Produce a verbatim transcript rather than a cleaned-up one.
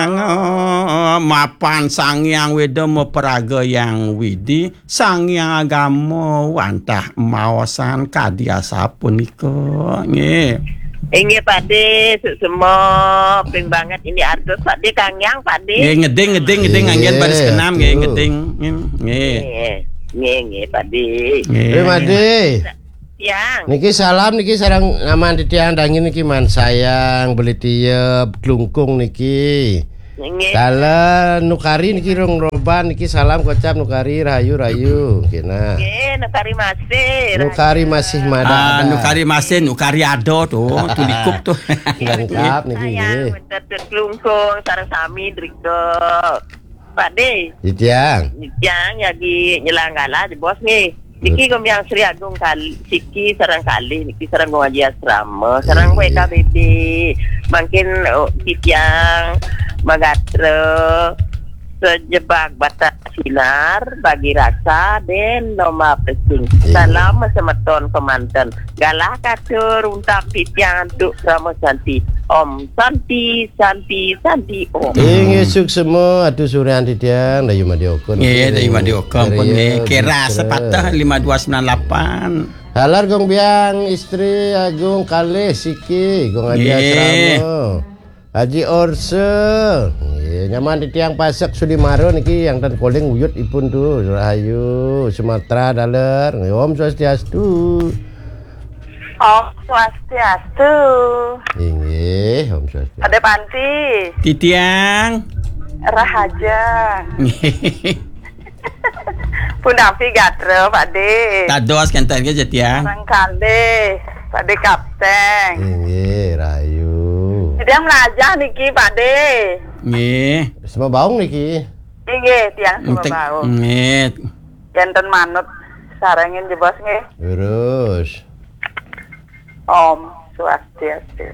Sang, eh, mapan Sang Hyang Weda mapraga Hyang Widi, Sang Hyang Agama wantah maosan kadi asapunika. Nggih. Inggih, Pakde, suksma, ping banget ini artus, Pakde, Kang Hyang, Pakde. Nggih, ngeding, ngeding, ngeding, anggen baris Nggih, kenam, nggih, aduh. Ngeding. Nggih. Nggih, nggih, nggih, Pakde. Nggih. Terima kasih. Tiang. Niki salam niki sareng ngaman titiang dangin niki Man Sayang, Beli Tiep, Glungkung niki. Nggih. Kala Nukari niki rung roban niki salam kocap Nukari rahayu rahayu. Nggih nah. Nggih, Nukari masih. Nukari masih mada. Ah, ada. Nukari masih, Nukari ada tu, tu likup tu. Lengkap niki Sayang, nggih. Bener tu Glungkung, sareng sami driko. Pakde. Titiang. Titiang lagi nyelang galah je bos nggih. Niki Betul. Gombiang Sri Agung kali, siki sareng kali, niki sareng Gong Haji Asrama, sareng Iya. W K B B. Mangkin, oh, titiang magatra sejebak batas sinar bagi rasa den lomba pesing. Iya. Salam semeton kemanten. Galah katur untak titiang antuk Krama Santi. Om Santi, Santi, Santi, Om. Inggih suksma atu surian titiang dayu madya okon. Nggih, dayu madya okon pun nggih. Kira sepatah lima dua sembilan lapan. Halar Gong Biang, istri Agung kalih siki, Gong Haji Nggih. Asrama. Haji Orse. Nggih, nyaman titiang Pasek Sudimara niki yang ten koling uyut ipun tu. Rahayu, Sumatera daler. Nggih, Om Swastiastu. Om Swastiastu. Inggih, Om Swastiastu. Ada Panti. Titiang. Rahaja. Punapi gatra, Pakde. Tados kenten ke, Titiang. Sangkale, Pakde Kapten. Inggih, rahayu. Titiang melajah niki, Pakde. Nggih. Semua baung niki. Inggih, tiang semua Entek-, baung. Nggih. Janten manut sarengin jebos nggih. Lurus. Om Swastiastu.